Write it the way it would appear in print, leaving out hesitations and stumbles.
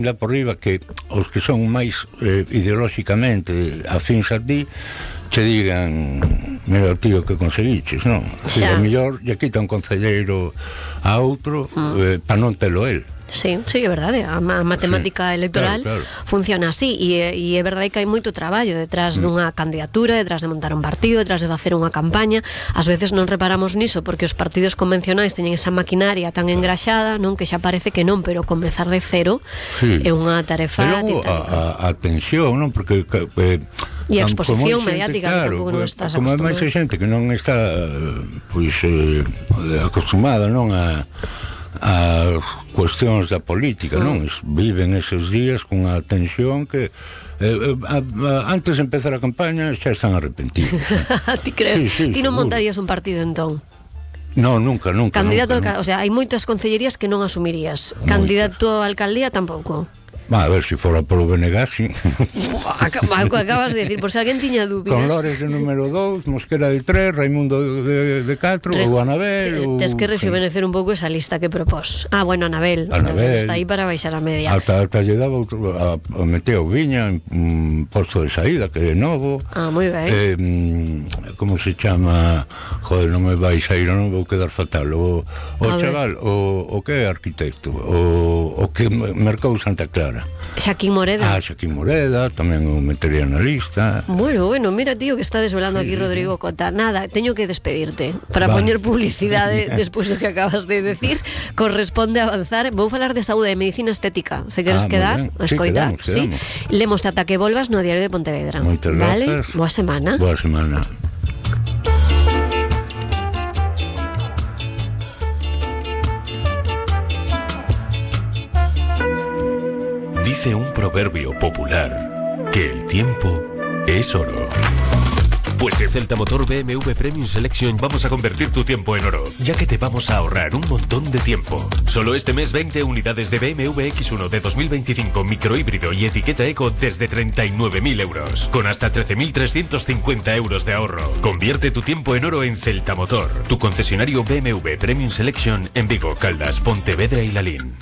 lá por riba que os que son máis ideolóxicamente afíns a ti che digan, mira tío que conseguiches, non? Se o mellor lle quita un concelleiro a outro para non telo el. Sí, sí, é verdade. A matemática electoral funciona así e é verdade que hai moito traballo detrás dunha candidatura, detrás de montar un partido, detrás de facer unha campaña. Ás veces non reparamos niso porque os partidos convencionais teñen esa maquinaria tan engraxada, non, que xa parece que non, pero comezar de cero é unha tarefa titánica. A tensión, non? Porque e a exposición mediática, que tampouco non estás acostumado. Como é máis xente que non está acostumada, non, a cuestións da política, non? Viven eses días cunha tensión que antes de empezar a campaña xa están arrepentidos. Ti crees? Ti non montarías un partido entón? No, nunca. Candidato nunca. O sea, hai moitas concellerías que non asumirías. Candidato a alcaldía tampouco. A ver, se fora polo BNG, sí. Acabas de decir, por se alguén tiña dúbidas. Con Lores de número 2, Mosquera de 3, Raimundo de 4, ou Anabel. Tes que rejuvenecer un pouco esa lista que propós. Bueno, Anabel está aí para baixar a media. Ata lle daba a meteo Viña en posto de saída, que é novo. Moi ben. Como se chama? Joder, non me vai sair, non vou quedar fatal. O chaval, o que é arquitecto, o que mercou Santa Clara. Xaquín Moreda. Xaquín Moreda, tamén o metería na lista. Bueno, mira, tío, que está desvelando aquí Rodrigo Cota. Nada, teño que despedirte para poñer publicidade despois do que acabas de decir. Corresponde avanzar. Vou falar de saúde e medicina estética. Se queres quedar, escoitar. Quedamos. Lemos ata que volvas no Diario de Pontevedra. Moitas grazas. Boa semana. Boa semana. Dice un proverbio popular que el tiempo es oro. Pues en Celta Motor BMW Premium Selection vamos a convertir tu tiempo en oro, ya que te vamos a ahorrar un montón de tiempo. Solo este mes 20 unidades de BMW X1 de 2025 microhíbrido y etiqueta eco desde 39.000 euros, con hasta 13.350 euros de ahorro. Convierte tu tiempo en oro en Celta Motor, tu concesionario BMW Premium Selection en Vigo, Caldas, Pontevedra y Lalín.